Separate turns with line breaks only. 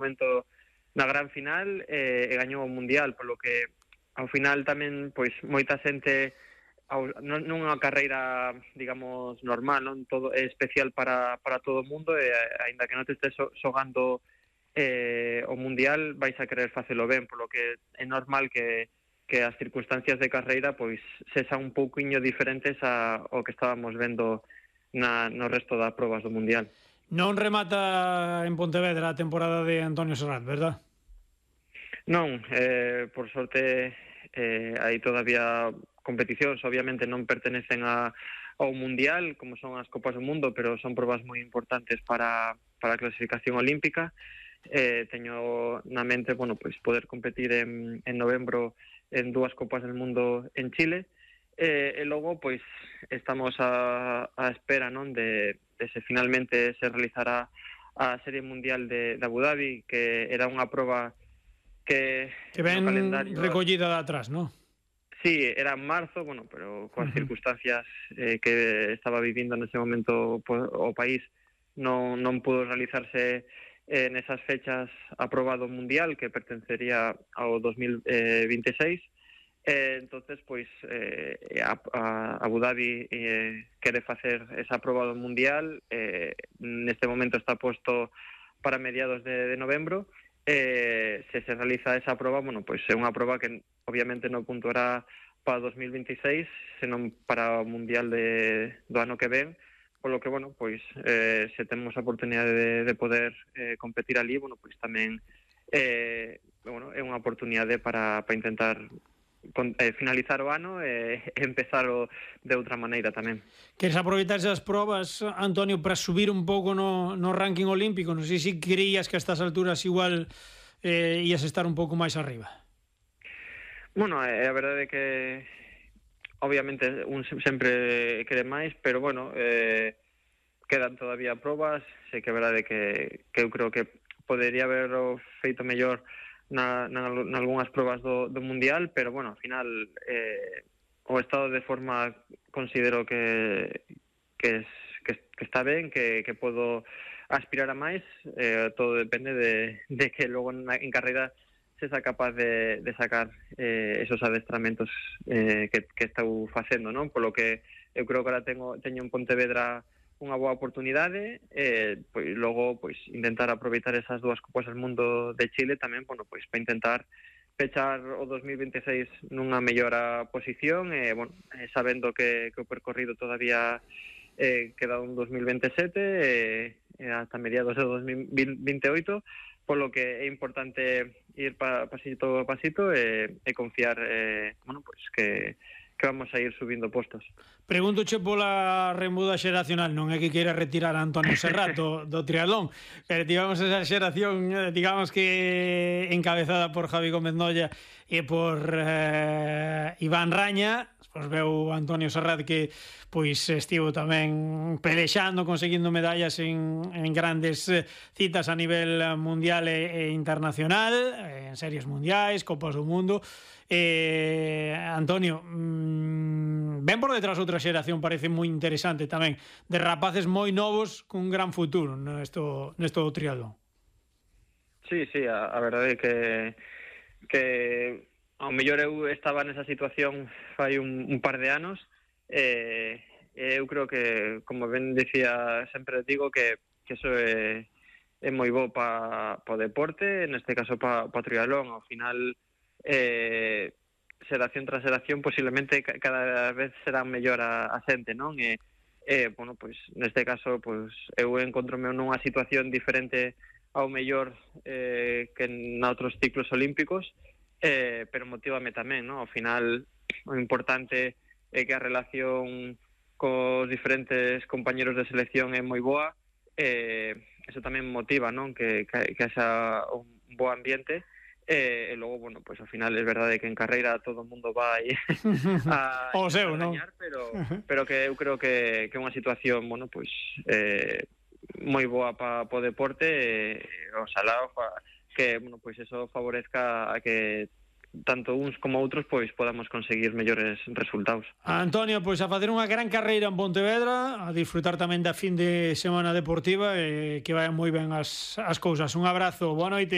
momento na gran final e gañou o Mundial, polo que ao final tamén pois moita xente nunha carreira, digamos, normal, non todo é especial para todo o mundo e aínda que non te estés xogando o Mundial vais a querer facelo ben, polo que é normal que as circunstancias de carreira pois sexan un pouquiño diferentes ao que estábamos vendo no resto das probas do Mundial.
Non remata en Pontevedra a temporada de Antonio Serrat, verdad?
Non, por sorte hai todavía competicións, obviamente non pertenecen ao Mundial, como son as Copas do Mundo, pero son probas moi importantes para a clasificación olímpica. Teño na mente, bueno, pois poder competir en novembro en 2 Copas del Mundo en Chile, e logo pois estamos a espera, non, de se finalmente se realizará a Serie Mundial de Abu Dhabi, que era unha proba que
ven recollida de atrás, non?
Sí, era en marzo, bueno, pero coas circunstancias que estaba vivindo nese momento o país non pudo realizarse nesas fechas a proba do Mundial, que pertencería ao 2026. Entonces, pois, Abu Dhabi quere facer esa proba do Mundial. Neste momento está posto para mediados de novembro. Se realiza esa proba, bueno, pois é unha proba que obviamente non puntuará para 2026, senón para o Mundial do ano que ven, polo que, bueno, pois se temos a oportunidade de poder competir ali, bueno, pois tamén bueno, é unha oportunidade para intentar finalizar o ano e empezar de outra maneira tamén.
Queres aproveitar esas probas, Antonio, para subir un pouco no ranking olímpico? Non sei se creías que a estas alturas igual ías estar un pouco máis arriba.
Bueno, a verdade é que obviamente un sempre quere máis, pero bueno, quedan todavía probas. Sei que é verdade que eu creo que podería haber feito mellor nalgúnas probas do Mundial, pero bueno, ao final o estado de forma considero que está ben, que podo aspirar a máis. Todo depende de que logo en carreira se sea capaz de sacar esos adestramentos que estou facendo, non? Polo que eu creo que ahora teño en Pontevedra unha boa oportunidade, pois logo pois intentar aproveitar esas 2 Copas del Mundo de Chile tamén, bueno, pois para intentar pechar o 2026 nunha mellora posición, bueno, sabendo que o percorrido todavía queda un 2027 ata mediados de 2028, polo que é importante ir pasito a pasito e confiar, bueno, pois que vamos a ir subindo postos.
Preguntoche pola remuda xeracional, non é que queira retirar a Antonio Serrat do triatlón, pero tivemos esa xeración, digamos que encabezada por Javi Gómez Noya e por Iván Raña. Pois veu Antonio Serrat que pois estivo tamén pelexando, conseguindo medallas en grandes citas a nivel mundial e internacional, en series mundiais, Copas do Mundo. Antonio, ven por detrás outra xeración, parece moi interesante tamén, de rapaces moi novos cun gran futuro nesto triatlón.
Sí, a verdade é que ao mellor eu estaba nesa situación fai un par de anos, eu creo que, como ben dicía, sempre digo que eso é moi bo para o deporte, neste caso para o triatlón. Ao final xeración tras xeración posiblemente cada vez será mellor a xente, non? Bueno, pois neste caso pois eu encontrome nunha situación diferente ao mellor que noutros ciclos olímpicos, pero motívame tamén, non? Ao final o importante é que a relación cos diferentes compañeros de selección é moi boa, eso tamén motiva, non? Que haxa un bo ambiente. E logo, bueno, pois ao final é verdade que en carreira todo o mundo vai a gañar, pero que eu creo que é unha situación, bueno, pois moi boa para o deporte, oxalá que, bueno, pois eso favorezca a que tanto uns como outros pois podamos conseguir mellores resultados.
Antonio, pois a facer unha gran carreira en Pontevedra, a disfrutar tamén da fin de semana deportiva e que vayan moi ben as cousas. Un abrazo, boa noite.